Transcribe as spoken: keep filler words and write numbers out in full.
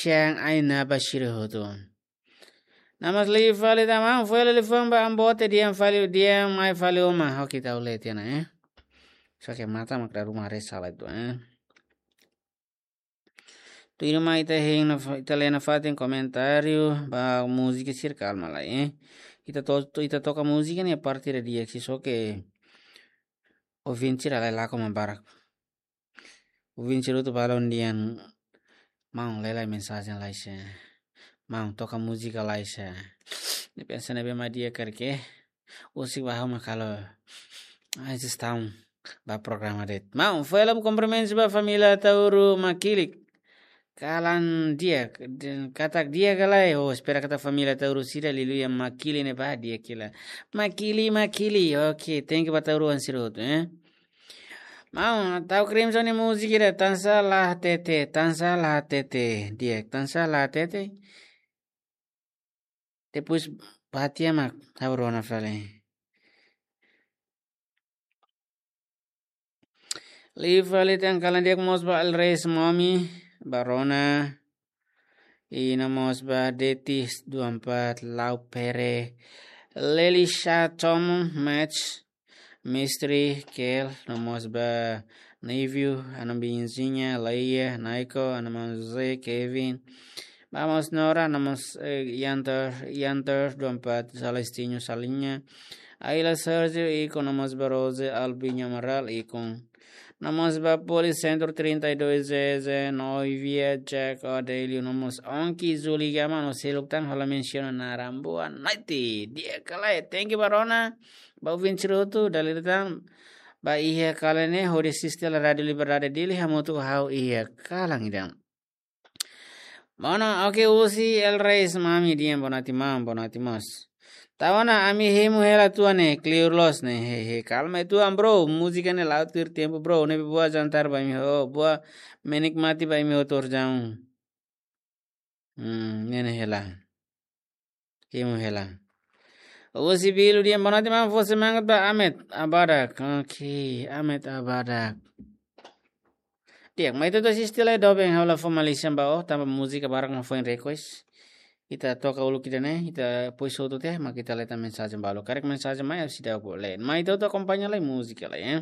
Yang ai na ba sira hotu. Namas liu fali tan maun, foin liafuan ba an bote di'ak fali, di'ak mai fali uma. Oke, tau leti na, eh. Só ke mata mak dala ruma haree sala ida, eh. Tuirmai ita hein na fa-, ita lee nafatin komentáriu ba múzika sira, kalma lai, eh. Ita to-, to-, ita toka múzika ne'e parte ida di'ak, só ke ouvinte sira lai lakon mak barak. Ouvinte sira hotu balun dehan, maun, lee lai mensajen lai sé. Maun, toka múzika lai sé. Ne'e pensa ne'ebé mak di'ak karik, eh. Husik ba ha'u mak halo, ah, sugestão ba programa de'it. Maun, foin hela kumprimentu ba família Tauru Makilik. Kalan di'ak, den katak di'ak ka lae, oh, espera katak família Tauru sira liuliu iha Makili ne'e ba di'ak hela. Makili, Makili, oke, thank you ba Tauru an sira hotu, eh. Maun, tau Crimson nia múzika ida, Tansá La Hatete, Tansá La Hatete, di'ak, Tansá La Hatete. Depois ba tiha mak ha'u rona fali. Liu fali tan, kalan di'ak mós ba El Rey Mami, ba rona. I no mós ba Detis dua empat, Lau Pere, Lelisha Tom, Match, Mystery, Kel, no mós ba Navio, Anambinzinha, Laia, Naiko, Anamon José, Kevin, Vamos Nora, no mós, eh, Yanter, Yanter dua empat, Celestino Salinha, Ayla Sergio, ikun, no mós ba Rose, Albinho Amaral, ikun. No mós ba Policentro trinta e dois, Zezé, Noivia, Jack, Adelio, no mós Onki, Zuli, Gama, no seluk tan hola mensiona naran. Boa noite, di'ak ka lae, thank you ba rona, ba ouvinte sira hotu, dala ida tan, ba iha kalan ne'e, hodi asiste hela Rádio Liberdade Dili, hamutuk ho ha'u iha kalan ida-ne'e. Bono, oke, husi El Rey Mami dehan boa noite maun, boa noite mós. Tau ona, ami hemu hela tuan ne'e, kleur loos ne'e, hehe, kalma uitoan bro, múzika ne'e la'o tuir tempu bro, ne'ebé boa jantar ba imi hotu, boa menikmati ba imi hotu orsida. Hmm, ne'e ne'e hela. Hemu hela. Husi Bilu dehan boa noite maun, fó semangat ba Amet Abadak. Oke, Amet Abadak. Di'ak, mai ita atu asiste lai doben, ha'u la fó malísia ba ó, tanba múzika barak mak foin request. Ita toka uluk ida-ne'e, ita depois hotu tiha, mak ita lee tan mensajen balu. Karik mensajen mai, ha'u seidauk lee. Mai ita atu akompaña lai múzika lai, eh.